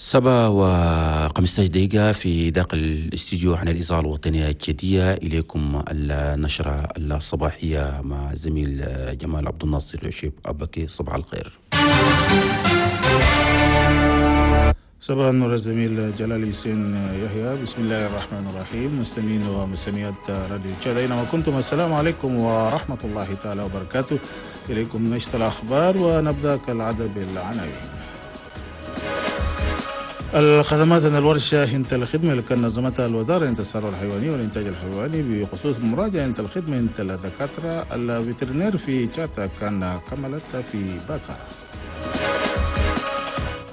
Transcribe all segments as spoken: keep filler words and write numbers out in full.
سبعة وخمسة عشر دقيقة في داخل الاستديو عن الإذاعة الوطنية التشادية. إليكم النشرة الصباحية مع زميل جمال عبد الناصر شيب أبكي. صباح الخير. صباح النور الزميل جلال حسين يحيى. بسم الله الرحمن الرحيم. مستمعين ومستمعات راديو تشاد أينما كنتم، السلام عليكم ورحمة الله تعالى وبركاته. إليكم نشرة الأخبار ونبدأ كالعادة بالعناوين. الخدمات أن الورشة انت الخدمة اللي كان نظمتها الوزارة انت الثروة الحيوانية والإنتاج الحيواني بخصوص مراجعة انت الخدمة انت الدكاترة ال vétérinaires في تشاد كان كملت في باكر.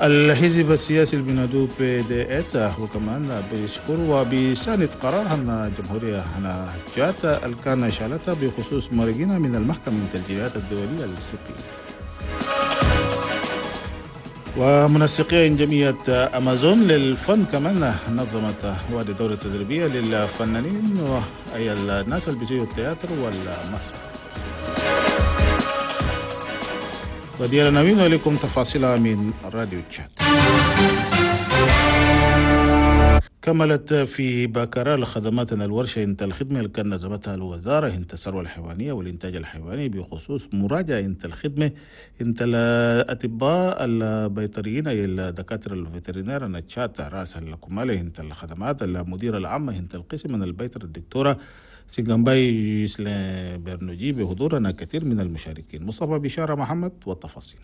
الحزب السياسي البنادو PDS وكمان بيشكر وبيساند قرار هنا الجمهورية هنا تشاد اللي كان شالتها بخصوص مرقنا من المحكمة الجنايات الدولية ال CPI. ومنسقية جمعية أمازون للفن كمان نظمت وادي دورة تدريبية للفنانين وأي الناس اللي بيسووا التياتر والمسرح. ودي العناوين ولكم تفاصيلها من راديو تشاد. كملت في باكرة الخدمات الورشة انت الخدمة اللي كان نظمتها الوزارة انت الثروة الحيوانية والإنتاج الحيواني بخصوص مراجعة انت الخدمة انت الأطباء البيطريين أي الدكاترة ال vétérinaires أن تشات رأس الكمالة انت الخدمات المديرة العامة انت القسم من البيطر الدكتورة سيغامباي برنوجي بحضورنا كثير من المشاركين. مصطفى بشارة محمد والتفاصيل.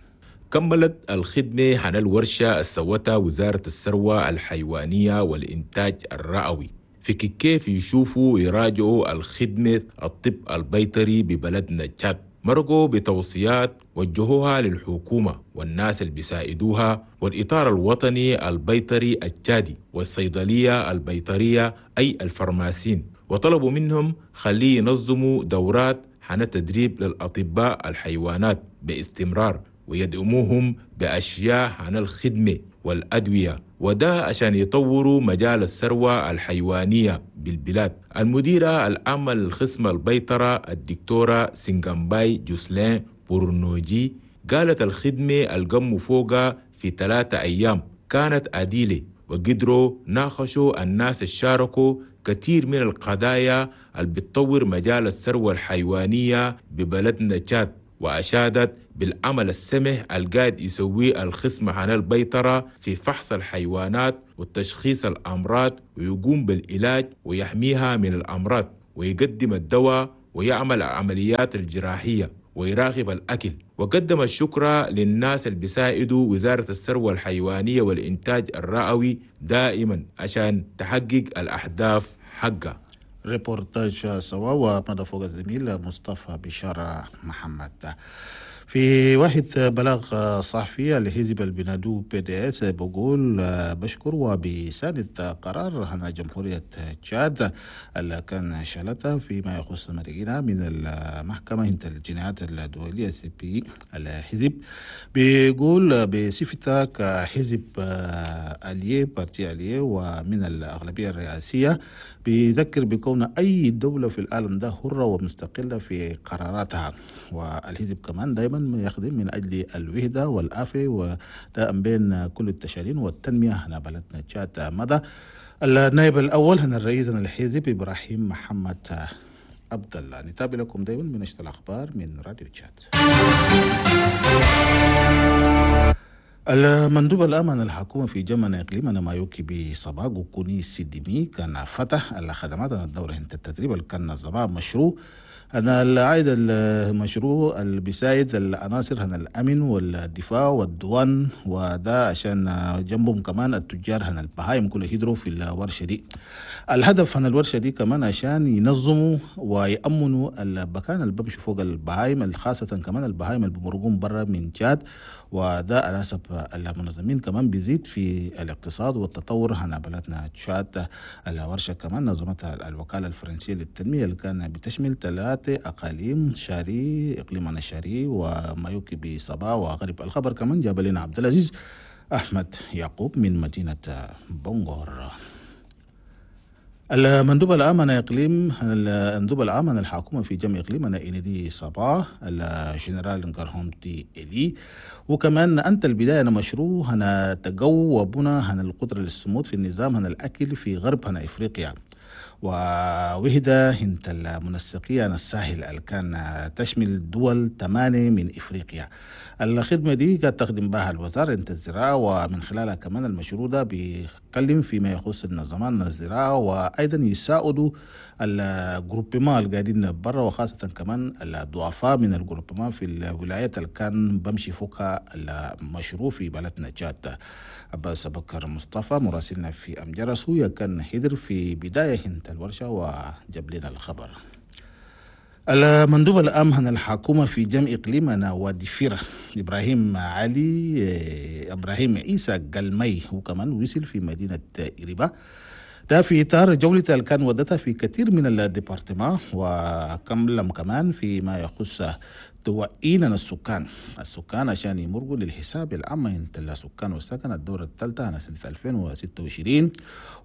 كملت الخدمة عن الورشة السوتها وزارة الثروة الحيوانية والإنتاج الرئوي في كيف يشوفوا ويراجعوا الخدمة الطب البيطري ببلدنا تشاد. مرقوا بتوصيات وجهوها للحكومة والناس اللي بيساعدوها والإطار الوطني البيطري التشادي والصيدلية البيطرية أي الفرماسين، وطلبوا منهم خليه ينظموا دورات عن التدريب للأطباء الحيوانات باستمرار ويدعموهم بأشياء عن الخدمة والأدوية، وده عشان يطوروا مجال الثروة الحيوانية بالبلاد. المديرة العامة للخصم البيطرة الدكتورة سينغامباي جوسلين بورنوجي قالت الخدمة القموا فوقها في ثلاثة أيام كانت عديلة، وقدروا ناقشوا الناس الشاركوا كثير من القضايا اللي بتطور مجال الثروة الحيوانية ببلدنا تشاد، وأشادت بالعمل السمح القاعد يسويه الخصم عن البيطرة في فحص الحيوانات وتشخيص الأمراض ويقوم بالعلاج ويحميها من الأمراض ويقدم الدواء ويعمل العمليات الجراحية ويراقب الأكل. وقدم الشكر للناس اللي بيساعدوا وزارة الثروة الحيوانية والإنتاج الرئوي دائما عشان تحقق الأهداف حقها. ريبورتاج سوا ومدى فوق الزميل مصطفى بشارة محمد. في واحد بلاغ صحفي لحزب البنادو PDS بقول بشكر وبيساند قرار هنا جمهورية تشاد اللي كان شالتها فيما يخص مرقنا من المحكمة انت الجنايات الدولية CPI. الحزب بيقول بصفته كحزب allié parti allié ومن الأغلبية الرئاسية بيذكر بكون أي دولة في العالم ده حرة ومستقلة في قراراتها، والحزب كمان دايما يخدم من أجل الوحدة والعافية ودائما بين كل التشادين والتنمية هنا بلدنا تشاد. مدى النائب الأول هنا الرئيس الحزب إبراهيم محمد عبد الله. نتابع لكم دايما من نشرة الأخبار من راديو تشاد. المندوب الأمن الحكومة في جمن إقليمنا مايوكي بصباغ كوني سيديمي كان فتح الخدمات الدورة التدريب اللي كان نظمها مشروع أنا العائد المشروع اللي بيساعد العناصر هنا الأمن والدفاع والديوان، وده عشان جنبهم كمان التجار هنا البهايم كله يدروا في الورشة دي. الهدف هنا الورشة دي كمان عشان ينظموا ويأمنوا المكان اللي بمشوا فوق البهايم، خاصة كمان البهايم اللي بمرقون برا من تشاد، وده على حسب المنظمين كمان بيزيد في الاقتصاد والتطور هنا بلدنا تشاد. الورشة كمان نظمتها الوكالة الفرنسية للتنمية اللي كان بتشمل ثلاث أقاليم، شاري إقليم شاري ومايوكي بصبا وغرب. الخبر كمان جاب لنا عبد العزيز أحمد يعقوب من مدينة بونغور. المندوب العام عن إقليم المندوب العام عن الحكومة في جمع إقليم إندي صباح الجنرال نقرهومتي إلي، وكمان أنت البداية أنا مشروع هنا تقوى بنا هنا القدرة للصمود في النظام هنا الأكل في غرب هنا إفريقيا. ووهدة هنت المنسقية الساحل اللي كان تشمل دول ثمانية من إفريقيا. الخدمة دي قد تخدم بها الوزارة انت الزراعة، ومن خلالها كمان المشروع ده بيتكلم فيما يخص النظام الزراعة، وأيضا يساعدوا ال groupements اللي قاعدين برا، وخاصة كمان الضعفاء من ال groupements في الولايات اللي كان بمشي فوقها المشروع في بلدنا تشاد. عباس بكر مصطفى مراسلنا في أمجرس هو كان حضر في بداية هنت الورشة وجاب لنا الخبر. المندوب العام عن الحكومة في جمع إقليمنا وادي فيرة إبراهيم علي إبراهيم عيسى قلمي وكمان وصل في مدينة إريبا، ده في إطار جولة اللي كان ودتها في كثير من ال départements، وكملم كمان فيما يخص توعينا السكان السكان عشان يمرقوا للحساب العام انت السكان والسكن الدورة الثالثة عن سنة ألفين وستة وعشرين.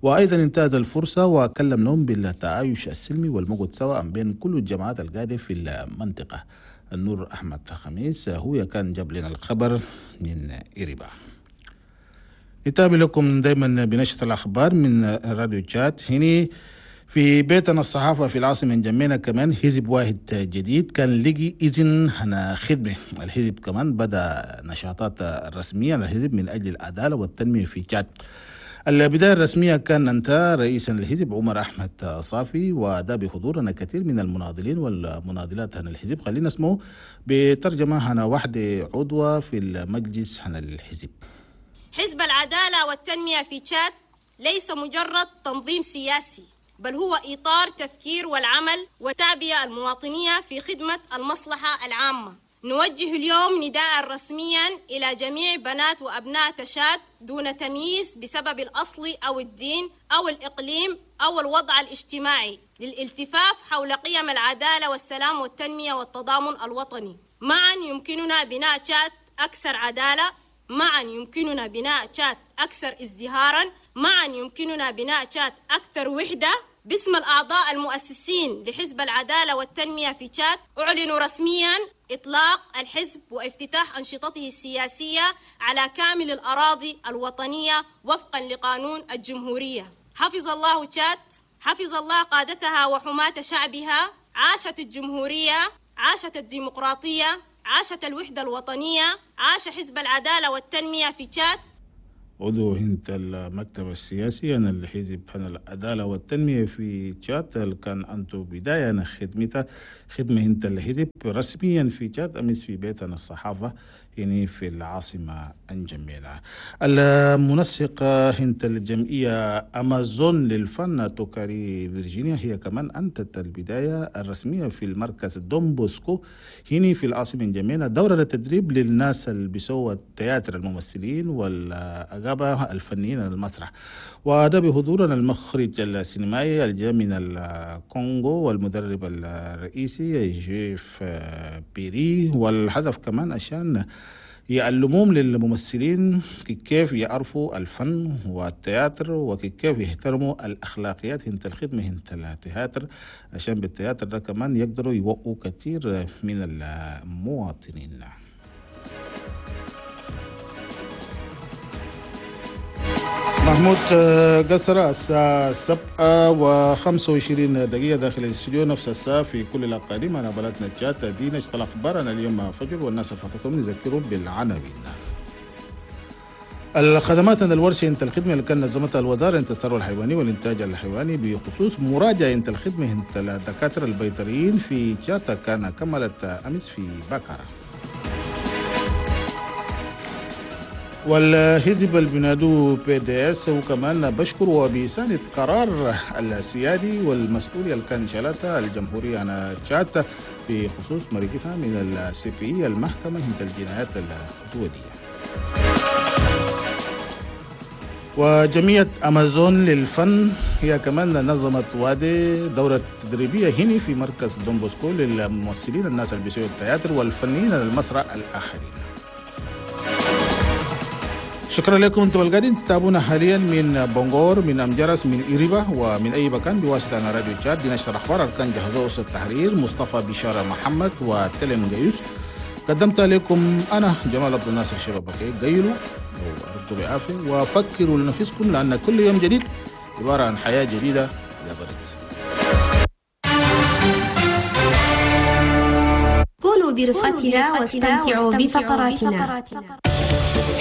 وأيضا انتهز الفرصة وكلم لهم بالتعايش السلمي والمقعد سواء بين كل الجماعات القاعدة في المنطقة. النور أحمد خميس هو كان جاب لنا الخبر من إريبا. نتابع لكم دايما بنشرة الأخبار من راديو تشات. هنا في بيتنا الصحافة في العاصمة انجمينا كمان حزب واحد جديد كان لقي إذن هنا خدمة. الحزب كمان بدأ نشاطات الرسمية للحزب من أجل العدالة والتنمية في تشاد. البداية الرسمية كان انت رئيسا للحزب عمر أحمد صافي، وده بحضورنا كثير من المناضلين والمناضلات هنا الحزب. خلينا اسمه بترجمة هنا واحدة عضوة في المجلس هنا الحزب. حزب العدالة والتنمية في تشاد ليس مجرد تنظيم سياسي، بل هو إطار تفكير والعمل وتعبئة المواطنية في خدمة المصلحة العامة. نوجه اليوم نداء رسميا إلى جميع بنات وأبناء تشاد دون تمييز بسبب الأصل أو الدين أو الإقليم أو الوضع الاجتماعي للالتفاف حول قيم العدالة والسلام والتنمية والتضامن الوطني. معا يمكننا بناء تشاد أكثر عدالة، معا يمكننا بناء تشاد أكثر ازدهارا، معا يمكننا بناء تشاد أكثر وحدة. باسم الأعضاء المؤسسين لحزب العدالة والتنمية في تشاد أعلن رسميا إطلاق الحزب وافتتاح أنشطته السياسية على كامل الأراضي الوطنية وفقا لقانون الجمهورية. حفظ الله تشاد، حفظ الله قادتها وحماة شعبها. عاشت الجمهورية، عاشت الديمقراطية، عاشت الوحدة الوطنية، عاش حزب العدالة والتنمية في تشاد. عضو هنت المكتب السياسي أنا الحزب هنا العدالة والتنمية في تشاد كان أنتو بداية خدمته خدمة هنت الحزب رسميا في تشاد أمس في بيتنا الصحافة يعني في العاصمة انجمينا. المنسق هنت الجمعية أمازون للفن توكاري فيرجينيا هي كمان أنتت البداية الرسمية في المركز دون بوسكو هنا في العاصمة انجمينا دورة للتدريب للناس اللي بيسووا التياتر الممثلين والأغابة الفنيين المسرح، وده بحضورنا المخرج السينمائي الجاي من الكونغو والمدرب الرئيسي جيف بيري. والهدف كمان عشان يعلموهم للممثلين كيف يعرفوا الفن والتياتر وكيف يحترموا الأخلاقيات هنت الخدمة هنت التياتر، عشان بالتياتر ده كمان يقدروا يوقوا كثير من المواطنين. محمود قصر الساعة سبعة وخمسة وعشرين دقيقة داخل الاستوديو، نفس الساعة في كل الأقاليم. أنا بلدنا تشاد دي نشتغل أخبارنا اليوم فجر والناس فاتتهم نذكرهم بالعناوين. الخدمات أن الورشة انت الخدمة اللي كان نظمتها الوزارة انت الثروة الحيواني والإنتاج الحيواني بخصوص مراجعة انت الخدمة انت الدكاترة البيطريين في تشاد كان كملت أمس في بكرة. والحزب البنادو بي دي اس وكمان بشكر وبيساند قرار السيادي والمسؤولية اللي كان شالتها الجمهورية عن تشاد بخصوص مرقتها من ال CPI المحكمة عند الجنايات الدولية. وجمعية أمازون للفن هي كمان نظمت وادي دورة تدريبية هنا في مركز دون بوسكو للممثلين الناس اللي بيسووا التياتر والفنيين المسرح الآخرين. شكرا لكم انتم القاعدين تتابعونا حاليا من بونغور، من امجرس، من إريبا، ومن اي مكان بواسطة راديو تشاد. دي نشر الاخبار كان جهزوه اسره التحرير مصطفى بشارة محمد وتلم جيوس. قدمت لكم انا جمال عبد الناصر شبابكي. قيلوا وارقدوا بعافية وفكروا لنفسكم، لان كل يوم جديد عبارة عن حياة جديدة يا بلد. كونوا برفقتنا واستمتعوا بفقراتنا.